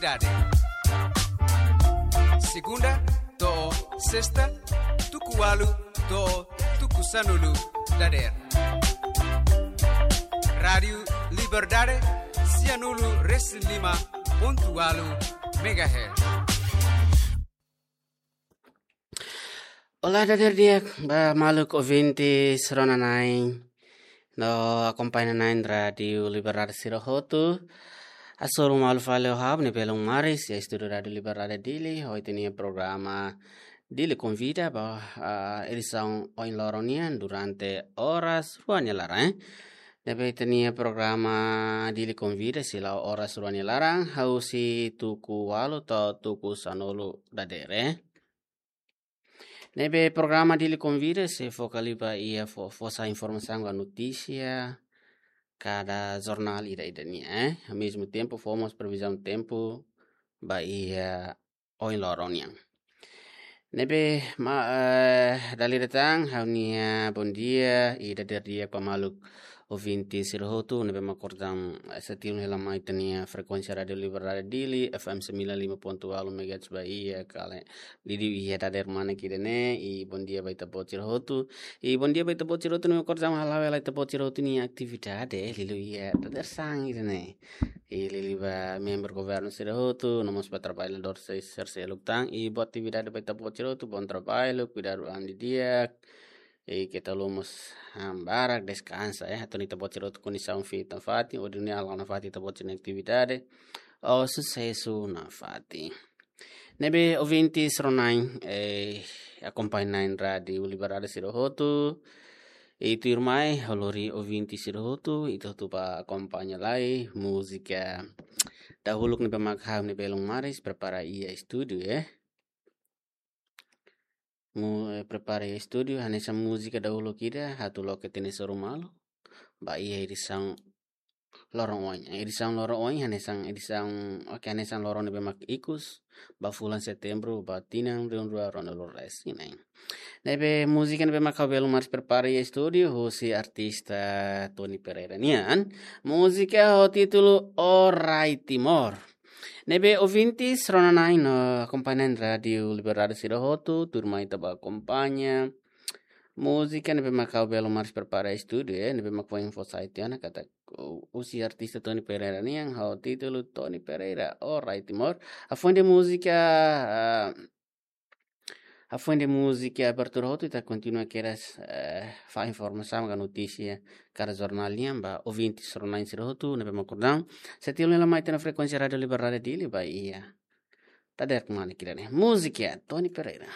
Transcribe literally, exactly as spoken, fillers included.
Dade. Segunda to'o sesta, tuku ualu to'o tuku sanulu dadeer. Rádiu Liberdade, sianulu resin lima pontu ualu megahertz. Olá, dadeer di'ak ba maluk ouvinte rona-na'in no akompaña na'in Rádiu Liberdade sira hotu. Hasoru malu fali ho ha'u ne'ebé belun maris iha estúdiu Rádiu Liberdade Dili, ho ita-nia programa Dili Konvida ba, ah, edisaun ohin loron nian durante oras rua nia laran, eh. Ne'ebé ita-nia programa Dili Konvida sei la'o oras rua nia laran, husi tuku ualu to'o tuku sanulu dadeer, eh. Ne'ebé programa Dili Konvida sei foka liu ba iha fó, fó sai informasaun ka notísia, ka jornál ida-idak nian, eh. Ao mesmo tempo, fó mós previzaun tempu ba iha ohin loron nian. Ne'ebé ma, eh, dala ida tan, ha'u-nia bondia ida dadeer di'ak ba maluk ouvinte sira hotu ne'ebé mak kordang, eh, setia hela mai ita-nia frekuénsia Rádiu Liberdade Dili, F M sembilan lima pontu ualu megahertz ba iha kala liuliu iha dadeer manek ida-ne'e, i bondia ba ita-boot sira hotu. I bondia ba ita-boot sira hotu ne'ebé mak kordang hala'o hela ita-boot sira hotu nia atividade, eh, liuliu iha dadeer-saan ida-ne'e. I liuliu ba membru governu sira hotu, no mós ba traballadór se-, sira seluk tan, i boa atividade ba ita-boot sira hotu, bom trabalho, kuidadu an didi'ak, i keta haluha mós han barak, deskansa, eh, atu nune'e ita-boot sira hotu kondisaun fiar nafatin, hodi nune'e hala'o nafatin ita-boot sira-nia atividade, ho susesu nafatin. Ne'ebé ouvinte rona-na'in, eh, akompaña na'in Rádiu Liberdade sira hotu, i tuirmai ha'u lori ouvinte sira hotu, ita hotu ba akompaña lai múzika dahuluk ne'ebé mak ha'u-nia belun maris prepara iha estúdiu, eh. Mu, eh, prepara iha estúdiu, hanesan múzika dahuluk ida, atu loke ita-nia hasoru malu ba iha edisaun loron oin. Edisaun loron oin, hanesan edisaun, oke, hanesan loron ne'ebé mak ikus, ba fulan Setembru, ba tinan rihun rua ruanulu resin na'in. Ne'ebé múzika ne'ebé mak ha'u belun maris prepara iha estúdiu, husi artista Tony Pereira nian. Múzika ho títulu Orai Timor. Ne'ebé ouvinte rona-na'in no akompaña na'in Rádiu Liberdade sira hotu, tuirmai ita ba akompaña múzika ne'ebé mak ha'u belun maris prepara estúdiu, eh, ne'ebé mak foin fó sai tiha ona katak, uh, husi artista Tony Pereira nian, ho títulu Tony Pereira, Orai Timor. Hafoin de'it múzika, ah, hafoin de'it múzika abertura hotu, ita kontinua kedas, eh, fó informasaun ka notísia ka jornál nian ba ouvinte rona-na'in sira hotu ne'ebé mak kordang setia hela mai ita-nia frekuénsia Rádiu Liberdade Dili ba iha dadeer manek ida-ne'e. Múzika Tony Pereira.